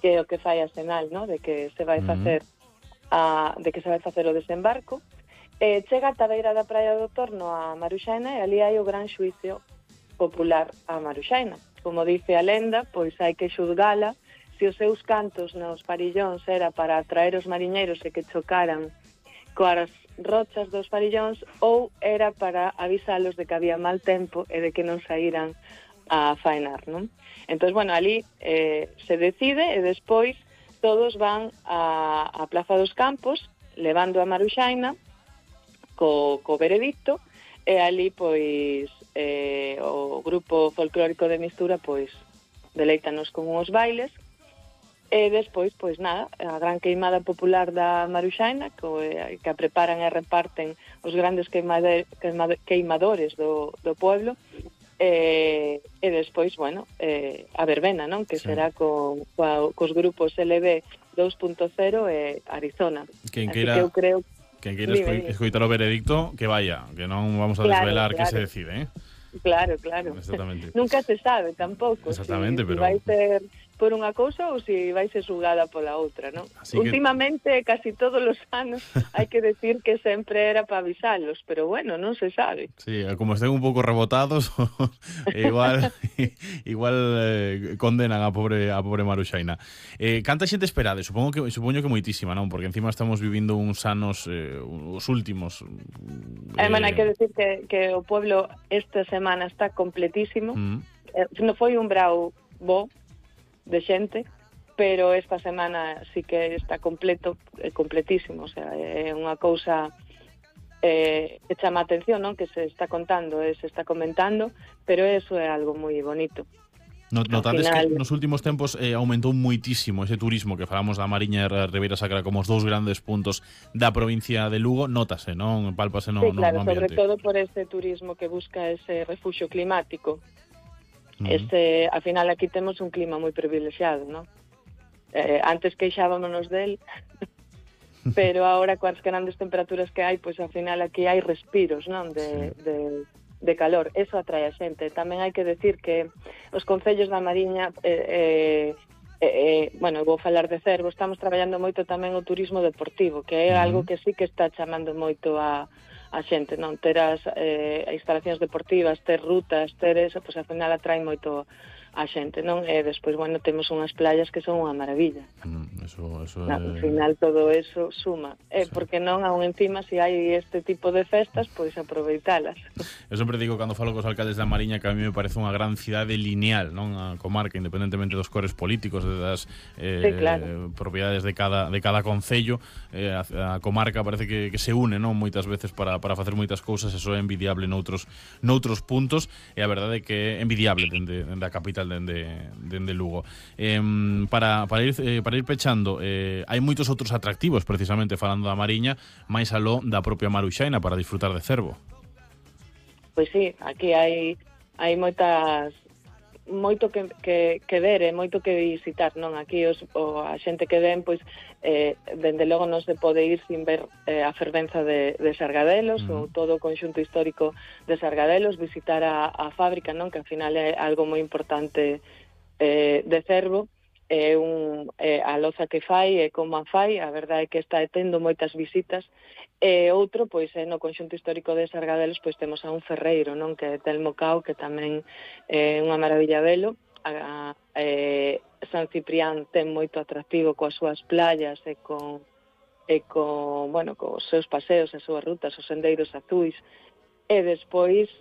que é o que fai a sinal, no? De que se vai facer o desembarco. Chega ata a beira da praia do Torno a Maruxaina e ali hai o gran xuicio popular a Maruxaina. Como dice a lenda, pois hai que xulgala se os seus cantos nos parillóns era para atraer os mariñeiros e que chocaran coas rochas dos parillóns ou era para avisalos de que había mal tempo e de que non saíran a faenar, non? Entón, bueno, ali se decide e despois todos van a Plaza dos Campos levando a Maruxaina co veredicto e ali, pois, o grupo folclórico de Mistura, pois, deleítanos con uns bailes. E despois, pois nada, a gran queimada popular da Maruxaina, que a preparan e reparten os grandes queimadores do pueblo, e despois, bueno, a verbena, non? Que será cos grupos LB 2.0 e Arizona. Quen Así que eu creo... Quen queira escoitar o veredicto, que vaya, que non vamos a desvelar que se decide, Claro. Exactamente. Nunca se sabe tampouco. Exactamente, pero... Si vai ser por unha cousa ou se vai ser xulgada pola outra, non? Últimamente, casi todos os anos, hai que decir que sempre era para avisalos, pero bueno, non se sabe. Sí, como estén un pouco rebotados, igual condenan a pobre Maruxaina. Canta xente esperade? Supoño que moitísima, non? Porque encima estamos vivindo uns anos, os últimos. Bueno, hai que decir que o pueblo esta semana está completísimo. Non foi un brau bo de xente, pero esta semana sí que está completísimo, o sea, é unha cousa que chama a atención, non? Que se está contando e se está comentando, pero eso é algo moi bonito. Notades que nos últimos tempos aumentou muitísimo ese turismo que falamos da Mariña e Ribeira Sacra como os dous grandes puntos da provincia de Lugo, notase, non? Pálpase no ambiente. Sí, claro, sobre todo por ese turismo que busca ese refuxio climático. Al final aquí temos un clima moi privilexiado, non? Antes queixábamos del, pero ahora coas grandes temperaturas que hai, pois ao final aquí hai respiros, non? De calor, eso atrae a xente. Tamén hai que decir que os concellos da Mariña, bueno, vou falar de Cervo, estamos traballando moito tamén o turismo deportivo, que é algo que sí que está chamando moito a xente, non? Ter as instalacións deportivas, ter rutas, ter eso, pois ao final atrae moito a xente, non? E despois, bueno, temos unhas playas que son unha maravilla. Ao final todo eso suma. Porque non, aún encima, se hai este tipo de festas, pois aproveitalas. Eu sempre digo, cando falo cos alcaldes da Mariña, que a mí me parece unha gran cidade lineal, non? A comarca, independentemente dos cores políticos, das propiedades de cada concello, a comarca parece que se une, non? Moitas veces para facer moitas cousas, eso é envidiable noutros puntos, e a verdade é que é envidiable dende a capital, dende Lugo. Para ir pechando, hai moitos outros atractivos, precisamente falando da Mariña, máis aló da propia Maruxaina, para disfrutar de Cervo. Pois sí, aquí hai moito que ver e moito que visitar, non? Aquí a xente que ven, pois dende logo non se pode ir sin ver a fervenza de Sargadelos, ou todo o conxunto histórico de Sargadelos, visitar a fábrica, non? Que ao final é algo moi importante de Cervo, a loza que fai e como a fai, a verdade é que está tendo moitas visitas. E outro, pois, no conxunto histórico de Sargadelos, pois temos a un ferreiro, non? Que é Telmo Cao, que tamén é unha maravilla velo. San Ciprián ten moito atractivo coas súas playas e bueno, cos seus paseos, as súas rutas, os sendeiros azuis. E despois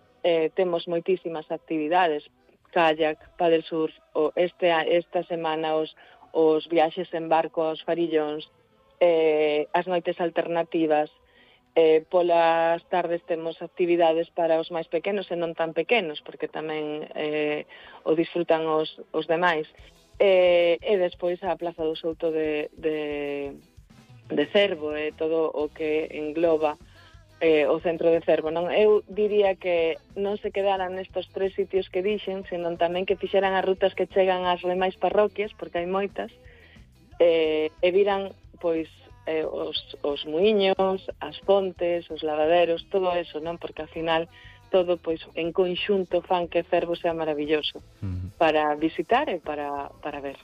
temos moitísimas actividades, kayak, paddle surf, esta semana os viaxes en barco aos farillóns, as noites alternativas. Polas tardes temos actividades para os máis pequenos e non tan pequenos, porque tamén o disfrutan os demais. E despois a Plaza do Souto de Cervo e todo o que engloba o centro de Cervo, non? Eu diría que non se quedaran nestos 3 sitios que dixen, senón tamén que fixeran as rutas que chegan ás demais parroquias, porque hai moitas, e viran, pois, os muiños, as fontes, os lavaderos, todo eso, non? Porque ao final todo, pois, en conxunto fan que Cervo sea maravilloso para visitar e para ver.